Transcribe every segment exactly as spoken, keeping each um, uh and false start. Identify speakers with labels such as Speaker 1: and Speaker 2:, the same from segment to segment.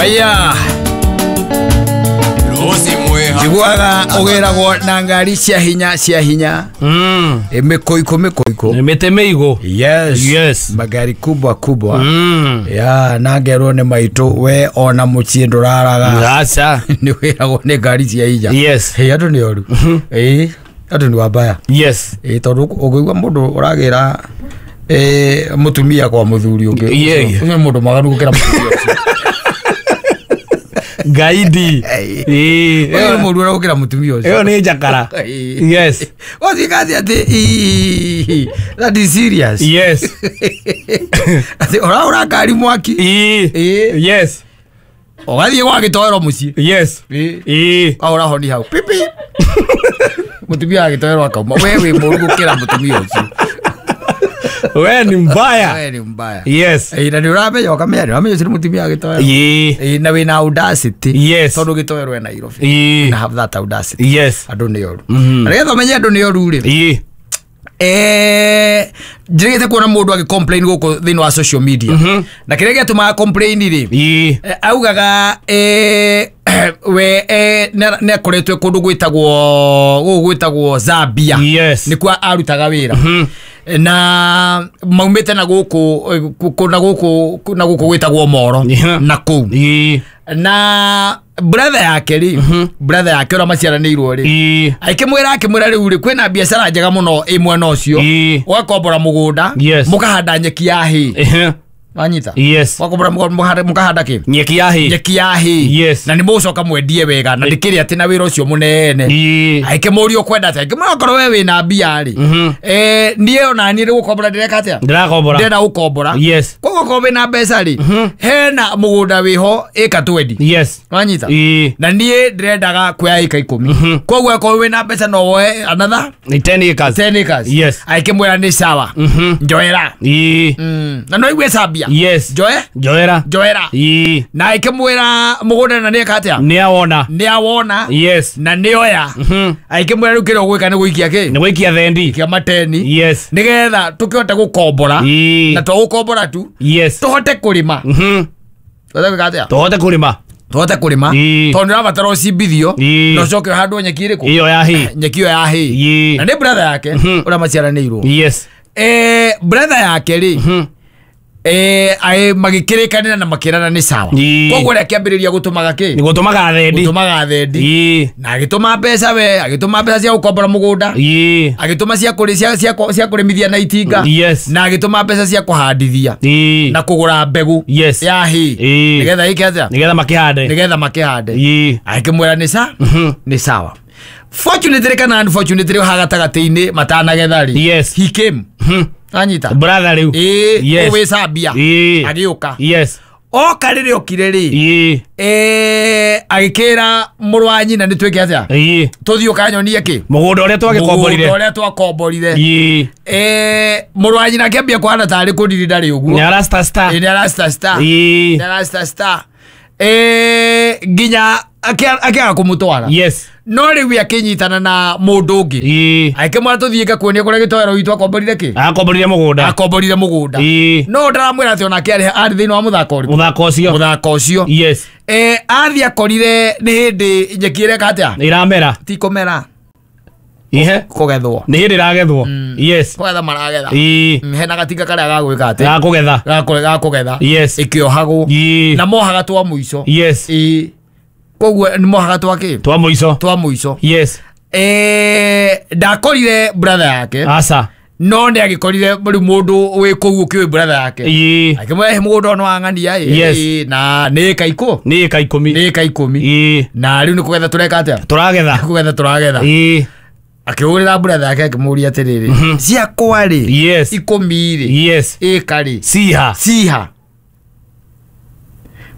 Speaker 1: Aya njiguaga ũgĩragwo na ngari cia hinya cia hinya
Speaker 2: mm.
Speaker 1: mĩkũikũ mĩkũikũ
Speaker 2: mĩtĩ mĩigũ.
Speaker 1: Yes.
Speaker 2: Yes.
Speaker 1: Magari kubwa kubwa.
Speaker 2: Mm.
Speaker 1: Ya na ngerwo nĩ maitũ we ona mũciĩ ndũraraga.
Speaker 2: Acha.
Speaker 1: Nĩ wĩragwo nĩ ngari cia hinya.
Speaker 2: Yes.
Speaker 1: Hey, andũ nĩ oru. Ĩĩ andũ nĩ wambaya.
Speaker 2: Yes.
Speaker 1: Ĩĩ tondũ ũngĩigua mũndũ ũragĩra eh mũtumia kwa mũthuri ũngĩ.
Speaker 2: Yeah.
Speaker 1: Ũcio nĩ mũndũ mwaganu gũkĩra mũtumia ũcio.
Speaker 2: Gaidi. Eh,
Speaker 1: Ũyũ nĩ mũndũ ũragũkĩra mũtumia ũcio.
Speaker 2: Ĩyo nĩ njakara. Yes.
Speaker 1: Wazikazi ati that is serious.
Speaker 2: Yes.
Speaker 1: Ati ora ngari mwaki.
Speaker 2: Eh. Yes.
Speaker 1: Ũgathiĩ gwa gĩtoero mũciĩ.
Speaker 2: Yes.
Speaker 1: Eh. Ahora honi hau. Pipi. Mũtumia wa gĩtoero akauma. We wĩ mũru gũkĩra mũtumia ũcio.
Speaker 2: We ni mbaya.
Speaker 1: We ni mbaya.
Speaker 2: Yes.
Speaker 1: Eh, na nĩ ũramenya ũkamenya nĩ ũramenya ũcio nĩ mũtumia wa gĩtoero.
Speaker 2: Eh.
Speaker 1: Eh, na wĩna audacity.
Speaker 2: Yes.
Speaker 1: Tondũ gĩtoero e Nairobi.
Speaker 2: Eh.
Speaker 1: Na have that audacity.
Speaker 2: Yes.
Speaker 1: Andũ nĩ oru.
Speaker 2: Mm.
Speaker 1: Na nĩgetha ũmenye andũ nĩ oru rĩ.
Speaker 2: Eh.
Speaker 1: Eh, njĩrĩgĩte kuona mũndũ agĩ complain gũkũ thĩinĩ wa social media.
Speaker 2: Mm -hmm.
Speaker 1: Na kĩrĩa gĩatũmaga complain rĩ.
Speaker 2: Eh.
Speaker 1: Augaga eh we eh nĩ akoretwo kũndũ gwĩtagwo gũkũ gwĩtagwo Zambia.
Speaker 2: Yes.
Speaker 1: Nĩkuo arutaga wĩra.
Speaker 2: Mm -hmm.
Speaker 1: Na maumĩte na gũkũ na gũkũ na gũkũ gwĩtagwo Moro.
Speaker 2: Yeah.
Speaker 1: Na kũu.
Speaker 2: Eh.
Speaker 1: Na brother yake rĩ,
Speaker 2: mm -hmm.
Speaker 1: brother yake ũrĩa maciaranĩirwo rĩ,
Speaker 2: eh
Speaker 1: akĩmwĩra akĩmwĩra rĩu rĩ kwĩna biacara njega mũno ĩ mwena ũcio, ũgakombora mũgũnda,
Speaker 2: Yes.
Speaker 1: mũkahanda nyeki ya hay. Wanyita?
Speaker 2: Yes.
Speaker 1: Wakombora mũkahanda kĩ?
Speaker 2: Nyeki ya hay.
Speaker 1: Nyeki ya hay.
Speaker 2: Yes.
Speaker 1: Na nĩ mũgũcoka mwendie wega na ndĩkĩrĩ atĩ na wĩra ũcio mũnene. Akĩmũria ũkwenda atĩa? Akĩmwĩra okorwo we wĩna mbia rĩ,
Speaker 2: Mm -hmm.
Speaker 1: eh niĩ ona niĩ nĩ gũkombora ndĩreka atĩa?
Speaker 2: Ndĩrakombora.
Speaker 1: Ndĩrenda gũkombora.
Speaker 2: Yes.
Speaker 1: Koguo okorwo wĩna mbeca rĩ,
Speaker 2: mm -hmm.
Speaker 1: hena mũgũnda wĩho ĩka twendi.
Speaker 2: Yes.
Speaker 1: Wanyita?
Speaker 2: Eh.
Speaker 1: Na niĩ ndĩrendaga kuoya ĩka ikũmi.
Speaker 2: Mm -hmm.
Speaker 1: Koguo okorwo wĩna mbeca no woe another
Speaker 2: Ni ten acres.
Speaker 1: ten acres.
Speaker 2: Yes.
Speaker 1: Akĩmwĩra nĩ sawa.
Speaker 2: Mm -hmm.
Speaker 1: Njoera.
Speaker 2: Eh.
Speaker 1: Mm. Na no igue Zambia.
Speaker 2: Yes.
Speaker 1: Njoe?
Speaker 2: Njoera.
Speaker 1: Njoera.
Speaker 2: Eh.
Speaker 1: Na akĩmwĩra mũgũnda na nĩeka atĩa?
Speaker 2: Nĩ awona.
Speaker 1: Nĩ awona.
Speaker 2: Yes.
Speaker 1: Na nĩoya.
Speaker 2: Mm -hmm.
Speaker 1: Akĩmwĩra rĩu kĩrĩa ũgwĩka nĩ gũikia kĩ?
Speaker 2: Nĩ gũikia thendi.
Speaker 1: Ikia mateni.
Speaker 2: Yes.
Speaker 1: Nĩgetha tũkĩhote gũkombora.
Speaker 2: Eh.
Speaker 1: Na to gũkombora tu.
Speaker 2: Yes.
Speaker 1: Tũhote kũrĩma.
Speaker 2: Mm -hmm.
Speaker 1: Tũhote gwĩka atĩa?
Speaker 2: Tũhote kũrĩma.
Speaker 1: Tũhote kũrĩma. Tondũ nĩũrabatara ũcimbithio.
Speaker 2: Eh.
Speaker 1: Na ũcoke ũhandwo nyeki ĩrĩkũ?
Speaker 2: Ĩyo ya hay.
Speaker 1: Nyeki ĩyo ya hay.
Speaker 2: Eh.
Speaker 1: Na nĩ brother yake
Speaker 2: Mm -hmm.
Speaker 1: ũrĩa maciaranĩirwo.
Speaker 2: Yes.
Speaker 1: Eh, brother yake rĩ.
Speaker 2: Mm -hmm.
Speaker 1: Eh, ae magĩkĩrĩkanĩra na makĩrana nĩ sawa. Koguo rĩa kĩambĩrĩria gũtũmaga kĩ?
Speaker 2: Nĩ gũtũmaga thendi.
Speaker 1: Gũtũmaga thendi.
Speaker 2: Eh.
Speaker 1: Na agĩtũma mbeca we, agĩtũma mbeca cia gũkombora mũgũnda.
Speaker 2: Eh.
Speaker 1: Agĩtũma cia kũrĩ cia cia cia kũrĩmithia na itinga.
Speaker 2: Yes.
Speaker 1: Na agĩtũma mbeca cia kũhandithia.
Speaker 2: Eh.
Speaker 1: Na kũgũra mbegũ.
Speaker 2: Yes.
Speaker 1: Ya hay.
Speaker 2: Eh.
Speaker 1: Nĩgetha ĩke atĩa?
Speaker 2: Nĩgetha makĩhande.
Speaker 1: Nĩgetha makĩhande.
Speaker 2: Eh.
Speaker 1: Akĩmwĩra nĩ sa?
Speaker 2: Mm -hmm.
Speaker 1: Nĩ sawa. Fortunately kana unfortunately ha gatagatĩ-inĩ matanagetha rĩ.
Speaker 2: Yes.
Speaker 1: He came.
Speaker 2: Mm -hmm.
Speaker 1: Anyita.
Speaker 2: Brother rĩu.
Speaker 1: Eh,
Speaker 2: Yes.
Speaker 1: wĩ Zambia.
Speaker 2: Eh.
Speaker 1: Agĩũka.
Speaker 2: Yes.
Speaker 1: Oka rĩrĩa okire rĩ.
Speaker 2: Eh.
Speaker 1: Eh, agĩkĩra mũrũ wa nyina nĩ twĩke atĩa?
Speaker 2: Eh.
Speaker 1: Tũthiĩ ũkanyonie kĩ?
Speaker 2: Mũgũnda ũrĩa twagĩkomborire.
Speaker 1: Mũgũnda ũrĩa twakomborire.
Speaker 2: Eh.
Speaker 1: Eh, mũrũ wa nyina akĩambia kũhana tarĩ kũndiri ndarĩ ũguo.
Speaker 2: Nĩ arasta star.
Speaker 1: Ĩ nĩ arasta star.
Speaker 2: Eh.
Speaker 1: Nĩ arasta star. Eh, nginya akĩaga kũmũtwara.
Speaker 2: Yes.
Speaker 1: No rĩu akĩnyitana na mũndũ ũngĩ.
Speaker 2: Eh.
Speaker 1: Akĩmwĩra tũthiĩ ngakuonie kũrĩa gĩtoero gitũ akomborire kĩ?
Speaker 2: Akomborire mũgũnda.
Speaker 1: Akomborire mũgũnda.
Speaker 2: Eh.
Speaker 1: No ndaramwĩra atĩ onake arĩ arĩ thĩinĩ wa mũthako ũrĩkũ?
Speaker 2: Mũthako ũcio.
Speaker 1: Mũthako ũcio.
Speaker 2: Yes.
Speaker 1: Eh, athiĩ akorire nĩ hĩndĩ nyeki ĩreka atĩa?
Speaker 2: Ĩramera.
Speaker 1: Ti kũmera.
Speaker 2: Ihe.
Speaker 1: Kũgethwo.
Speaker 2: Nĩ hĩndĩ ĩragethwo. Yes.
Speaker 1: Kũgetha maragetha.
Speaker 2: Eh.
Speaker 1: Hena gatinga karĩa gagwĩka atĩ?
Speaker 2: Gakũgetha.
Speaker 1: Gakũgetha.
Speaker 2: Yes.
Speaker 1: Ĩkĩohagwo.
Speaker 2: Eh.
Speaker 1: Na mohaga twa mũico.
Speaker 2: Yes.
Speaker 1: Ĩ. Koguo nĩ mohaga twa kĩ?
Speaker 2: Twa mũico.
Speaker 1: Twa mũico.
Speaker 2: Yes.
Speaker 1: Eh, ndakorire brother yake.
Speaker 2: Aca.
Speaker 1: No nĩ agĩkorire rĩu mũndũ wĩ kũu ũkĩũĩ brother yake.
Speaker 2: Eh.
Speaker 1: Akĩmwĩra he mũgũnda ũyũ nĩ wa ng'ania ĩ.
Speaker 2: Yes.
Speaker 1: Na nĩ ĩka ikũ?
Speaker 2: Nĩ ĩka ikũmi.
Speaker 1: Nĩ ĩka ikũmi.
Speaker 2: Eh.
Speaker 1: Na rĩu nĩ kũgetha tũreka atĩa?
Speaker 2: Tũragetha.
Speaker 1: Kũgetha tũragetha.
Speaker 2: Eh.
Speaker 1: Akĩhũrĩra brother yake akĩmũria atĩrĩrĩ. Ciakwa rĩ.
Speaker 2: Yes.
Speaker 1: Ikũmi rĩ.
Speaker 2: Yes.
Speaker 1: Ĩka rĩ.
Speaker 2: Ciha.
Speaker 1: Ciha.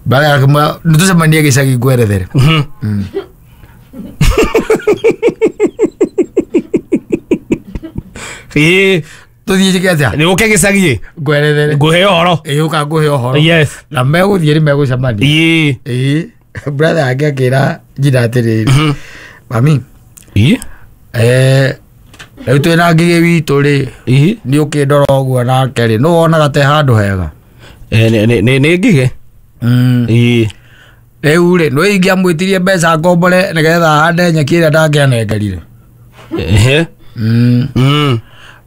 Speaker 1: Brother akĩmwĩra nĩtũcemanie gĩcagi ngwerethere.
Speaker 2: Mm -hmm. Eh.
Speaker 1: Tũthiĩ njĩke atĩa?
Speaker 2: Nĩ ũke gĩcagi
Speaker 1: ngwerethere.
Speaker 2: Ngũhe ũhoro.
Speaker 1: Ĩ ũka ngũhe ũhoro.
Speaker 2: Yes.
Speaker 1: Na megũthiĩ nĩ megũcemania.
Speaker 2: Eh.
Speaker 1: Ĩ brother yake akĩra nyina atĩrĩrĩ. Mami.
Speaker 2: Eh.
Speaker 1: Eh, rĩu twĩna Ngigĩ witũ rĩ.
Speaker 2: Eh.
Speaker 1: Nĩ ũkĩndora ũguo nake rĩ. Nũ wonaga te handũ hega?
Speaker 2: Eh, nĩ nĩ nĩ Ngigĩ.
Speaker 1: Mm.
Speaker 2: Eh.
Speaker 1: Rĩu rĩ, nĩ ingĩamwĩtirie mbeca ngombore nĩgetha hande nyeki ĩrĩa ndangĩanengerire.
Speaker 2: Ehe.
Speaker 1: Mm.
Speaker 2: Mm.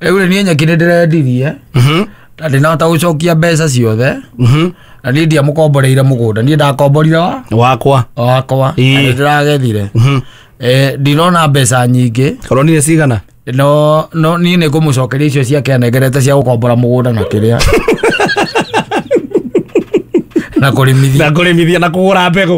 Speaker 1: Rĩu rĩ, niĩ nyeki nĩ ndĩrendirie
Speaker 2: Mhm.
Speaker 1: na ndinahota gũcokia mbeca ciothe,
Speaker 2: Mhm.
Speaker 1: na niĩ ndiamũkomboreire mũgũnda, niĩ ndakomborire wa
Speaker 2: Wakwa.
Speaker 1: wakwa
Speaker 2: Ĩĩ.
Speaker 1: na nĩ ndĩragethire.
Speaker 2: Mhm.
Speaker 1: Eh, ndinona mbeca nyingĩ.
Speaker 2: Koronire cigana?
Speaker 1: No no niĩ nĩ ngũmũcokeria icio ciake anengerete cia gũkombora mũgũnda na kĩrĩa na kũrĩmithia.
Speaker 2: Na kũrĩmithia na kũgũra mbegũ.